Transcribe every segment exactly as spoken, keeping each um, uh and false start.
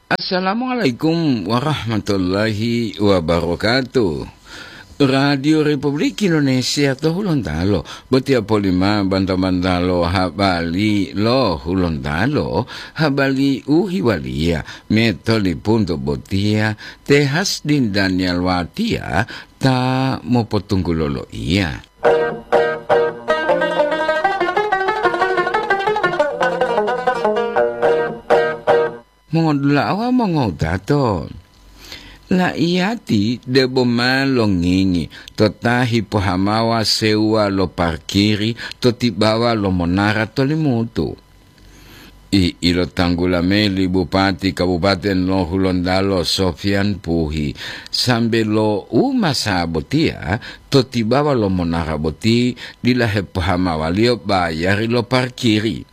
Assalamualaikum warahmatullahi wabarakatuh. Radio Republik Indonesia to Hulontalo, botiya polima banta-bantalo habari lo Hulontalo, habari u hiwaliya metolipunto botiya te Hasdin Daniel Watia ta mopotunggulo loiya. Mongodula'a wawu mongowutato, la'iyati debo ma longingi to ta hipohamawa sewuwa lo parkiri to tibawa lo monara to Limutu. I ilotanggula mayi li Bupati Kabupaten lo Hulontalo Sofian Puhi, sambe lo u masa botiya to tibawa lo monara boti dila hepohamawaliyo bayari lo parkiri.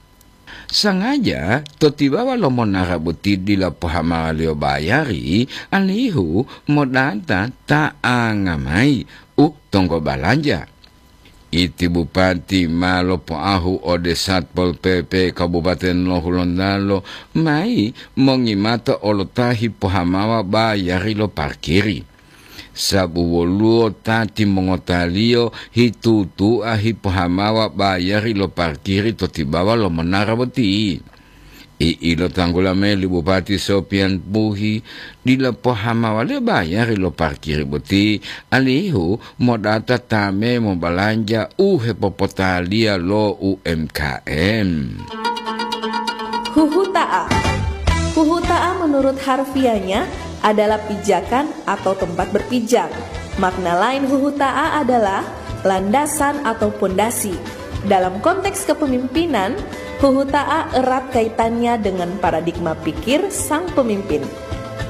Sangaja to tibawa lo monara boti dila pohamawaliyo bayari, alihu modata ta'anga mayi u tonggo balanja. Iti Bupati ma lopoahu ode Satpol P P Kabupaten lo Hulontalo mayi mongi mata olo ta hipohamawa bayari lo parkiri. Sabu woluwo ta timongotaliyo hitutu'a hipohamawa bayari lo parkiri to tibawa lo monara boti. I ilotanggula mayi li Bupati Sopian Puhi, dila pohamawaliyo bayari lo parkiri boti, alihu modata ta me mobalanja u hepopotaliya lo U M K M. Huhuta'a. Huhuta'a menurut harfiahnya adalah pijakan atau tempat berpijak. Makna lain huhuta'a adalah landasan atau pondasi. Dalam konteks kepemimpinan, huhuta'a erat kaitannya dengan paradigma pikir sang pemimpin.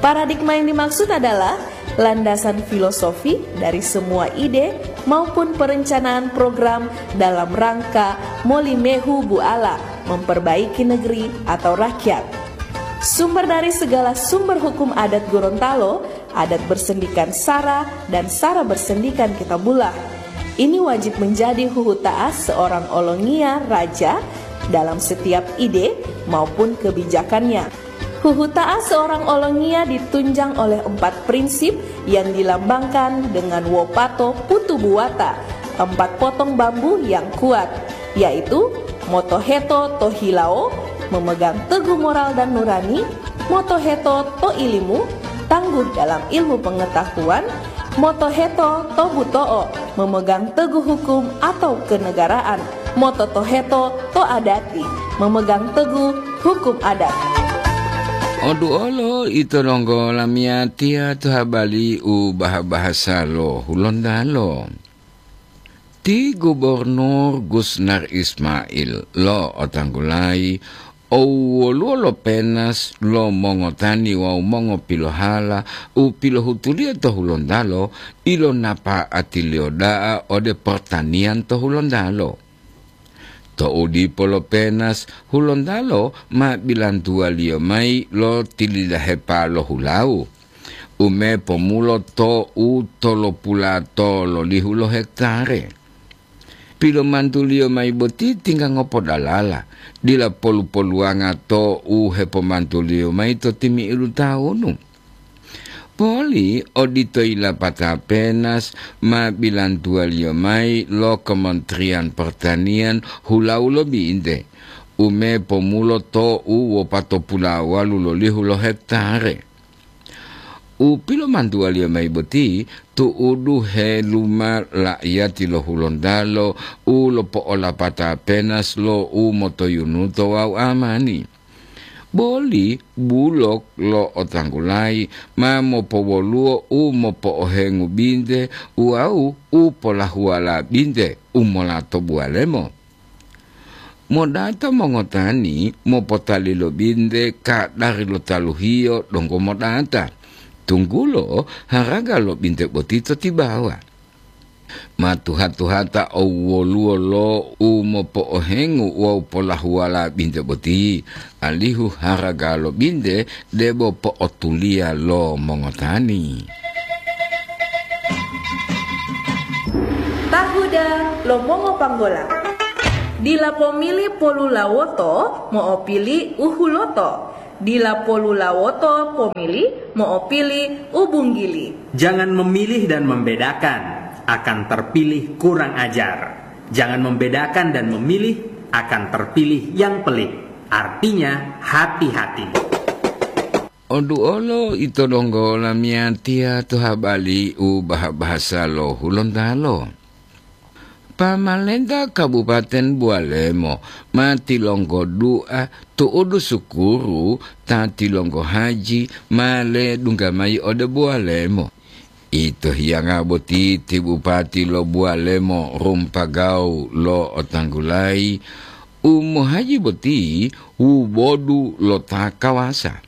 Paradigma yang dimaksud adalah landasan filosofi dari semua ide maupun perencanaan program dalam rangka molimehu buala memperbaiki negeri atau rakyat. Sumber dari segala sumber hukum adat Gorontalo, adat bersendikan sara dan sara bersendikan kitabullah. Ini wajib menjadi huhuta'a seorang olongiya raja dalam setiap ide maupun kebijakannya. Huhuta'a seorang olongiya ditunjang oleh empat prinsip yang dilambangkan dengan wopato putu buwata, empat potong bambu yang kuat, yaitu motoheto to hilawo, memegang teguh moral dan nurani, motoheto to ilimu, tangguh dalam ilmu pengetahuan, motoheto to buto'o, memegang teguh hukum atau kenegaraan, mototoheto to adati, memegang teguh hukum adat. Oduolo ito donggo lamiyatiya to habari u baha-bahasa lo Hulontalo. Ti Gubernur Gusnar Ismail lo'otanggulayi owoluwo lo penas lo mongotani wawu mongopilohala u pilohutuliyo to Hulontalo ilonapa'atiliyo da'a ode pertanian to Hulontalo. To'u dipo lo penas, Hulontalo ma bilantuwaliyo mayi lo tilidahepa lo hulawu, u me pomulo to u tolopula tololihu lo hektare. Pilomantuliyo mayi boti tingga ngopodalala, dila polu-poluwanga to u hepomantuliyo mayi to timi'idu tawunu. Poli odito yilapata penas ma bilantuwaliyo mayi lo Kementerian Pertanian hulawu lo binte, u me pomulo to u wopatopulawalu lolihu lo hektare. U pilomantuwaliyo mayi boti tu'udu heluma la'iyati lo Hulontalo u lopo'olapata penas lo u motoyunuto wawu amani. Boli bulok lo otanggulayi ma mopowoluwo u mopo'ohengu binte wawu u polahuwala binte u mola to buwalemo. Modata mongotani mopotali lo binte kadari lo taluhiyo donggo modata, tunggulo haraga lo binte boti to tibawa. Ma tuha-tuhata owwoluwo lo u mopo'ohengu wawu polahuwala binte boti, alihu haraga lo binte debo po'otuliya lo mongotani. Tahuda lo mongopanggola. Dila pomili polulawoto mo'opili u huloto. Dila polulawoto pomili mo'opili u bunggili. Jangan memilih dan membedakan, akan terpilih kurang ajar. Jangan membedakan dan memilih, akan terpilih yang pelit. Artinya, hati-hati. Oduolo ito donggo lamiyatiya to habali u baha-bahasa lo Hulontalo. Pamalenta Kabupaten Bualemo ma tilonggo dua tu'udu sukuru ta tilonggo haji ma ledungga mayi ode Bualemo. Ito hiyanga boti ti bupati lo Bualemo rumpagau lo otanggulayi u mohaji boti wubodu lo ta kawasa,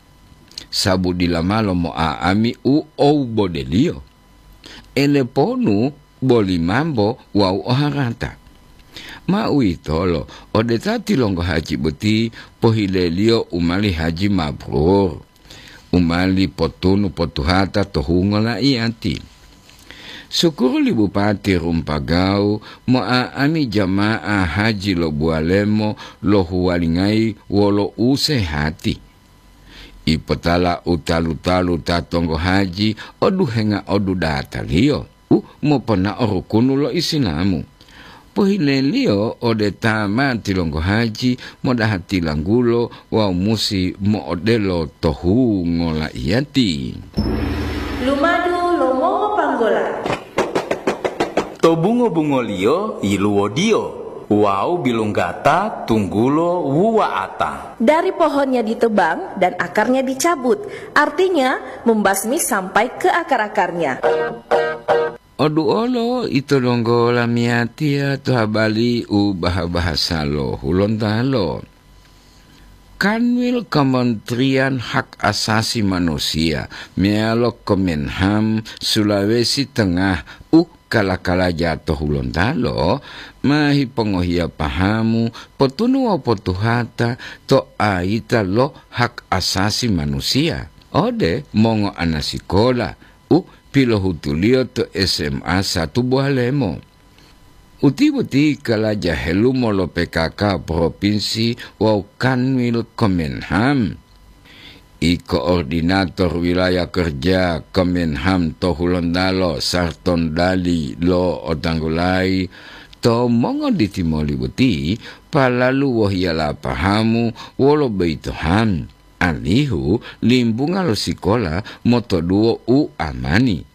sabu dila malo mo'a'ami u owubodeliyo. Eleponu boli mambo wawu oharata. Ma uwitolo, ode ta tilonggo haji boti pohileliyo u mali haji mabrur, u mali potunu potuhata to hungo laiyati. Sukuru li Bupati Rumpagau mo'a'ami jama'a haji lo Bualemo lohuwalingayi wolo usehati. Ipotala u talu-talu ta tonggo haji oduhenga odudataliyo u moponao rukunu lo Isilamu. Pohileliyo ode ta ma tilonggo haji modaha tilanggulo wawu musi mo'odelo to hungo laiyati. Lumadu lo mongopanggola. To bungo-bungoliyo yiluwodiyo wawu bilunggata tunggulo wuwa'ata. Dari pohonnya ditebang dan akarnya dicabut, artinya membasmi sampai ke akar-akarnya. Oduolo ito donggo lamiyatiya to habali u baha-bahasa lo Hulontalo. Kanwil Kementerian Hak Asasi Manusia meyalo Kemenham Sulawesi Tengah u kala-kalaja to Hulontalo ma hipongohiya pahamu potunu wawu potuhata to ayita lo hak asasi manusiya ode mongoanasikola u pilohutuliyo to S M A satu Bualemo. Uti boti kalaja helumo lo P K K Propinsi wawu Kanwil Kemenham. I koordinator wilaya kerja Kemenham to Hulontalo Sarton Dali lo otanggulayi to mongoditimoli boti palalu wohiyala pahamu wolo boyito ham, alihu limbunga lo sikola motoduwo u amani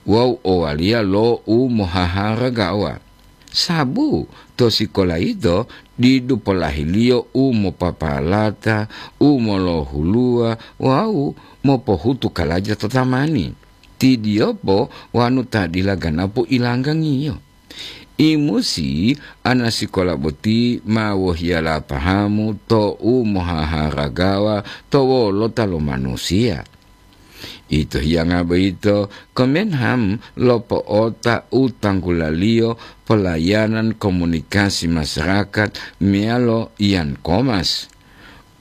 wawu owaliya lo u mohaharagawa. Sabu to sikola yito didu polahiliyo u mopapalata, u molohuluwa wawu mopohutu kalaja to tamani. Tidiyopo wanu ta dila ganapu ilanggangiyo. Imusi anasikola boti ma wohiyala pahamu to u mohaharagawa to wolota lo manusiya. Ito hiyanga boyito, Kemenham lopo'ota u tanggulaliyo pelayanan komunikasi masyarakat meyalo Yan Komas,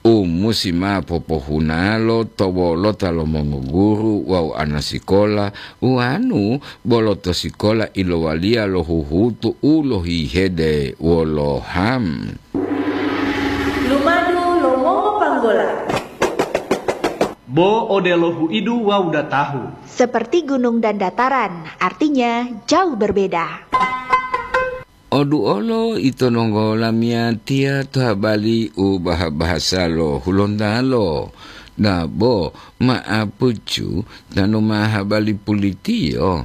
u musi ma popohunalo to wolota lo mongoguru wawu anasikola, uwanu bolo to sikola ilowaliya lo huhutu u lohihede wolo ham. Lumadu lo mongopanggola. Bo odelo huidu wawu datahu. Seperti gunung dan dataran, artinya jauh berbeda. Oduolo ito nonggola miyatiya to habali u baha-bahasa lo Hulontalo, dabo ma'apucu tanu ma habali pulitiyo.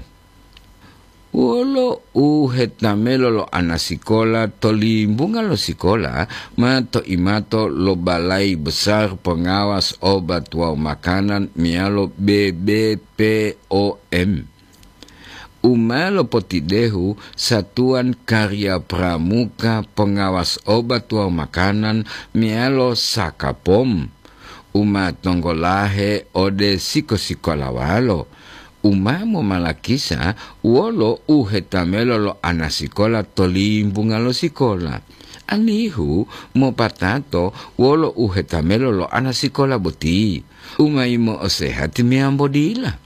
Wolo u hetamelo lo anasikola to limbunga lo sikola ma to'imato lo Balai Besar Pengawas Obat wawu Makanan meyalo B B P O M. U ma lopotidehu Satuan Karya Pramuka Pengawas Obat wawu Makanan meyalo Sakapom, u ma tonggolahe ode siko-sikolawalo, u ma momalakisa wolo u hetamelo lo anasikola to limbunga lo sikola, alihu mopatato wolo u hetamelo lo anasikola boti, u ma yimo'osehati meyambo dila.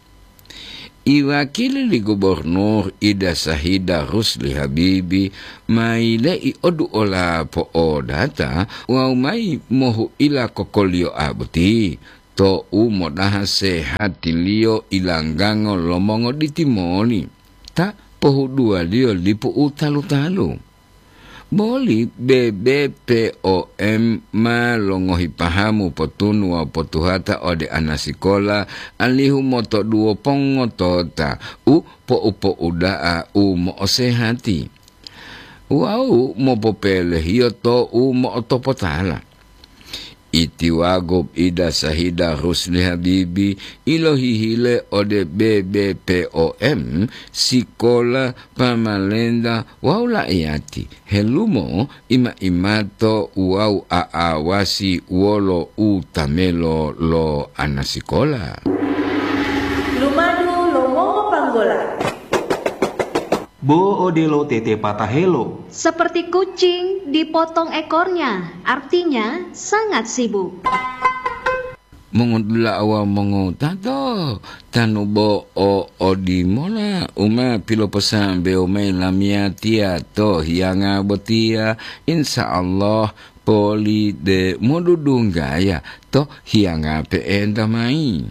Iwakili li Gubernur Ida Sahida Rusli Habibi ma yile'i oduola po'odata wawu mayi mohu'ila kokoliyo'a boti to'u modaha sehatiliyo ilanggango lo mongoditi moli, ta pohuduwaliyo lipu u talu-talu. Boli B B P O M ma longohi pahamu potunu wawu potuhata ode anasikola, alihu motoduwo pongotota u po'u-po'uda'a u mo'osehati wawu mopopelehiyo to'u mo'otopotala. Itiwago Ida Sahida Rusli Habibi ilohihile ode B B P O M, sikola, pamalenta wawu la'iyati helumo ima-imato wawu a'awasi wolo utamelo lo anasikola. Lumadu lo mongopanggola. Bo odelo tete patahelo. Seperti kucing dipotong ekornya, artinya sangat sibuk. Mongodula'a wawu mongowutato, tanu bo o odimola u ma piloposambewo mayi lamiyatiya to hiyanga botiya, insya Allah poli de modudunggaya to hiyanga pe'enta mayi.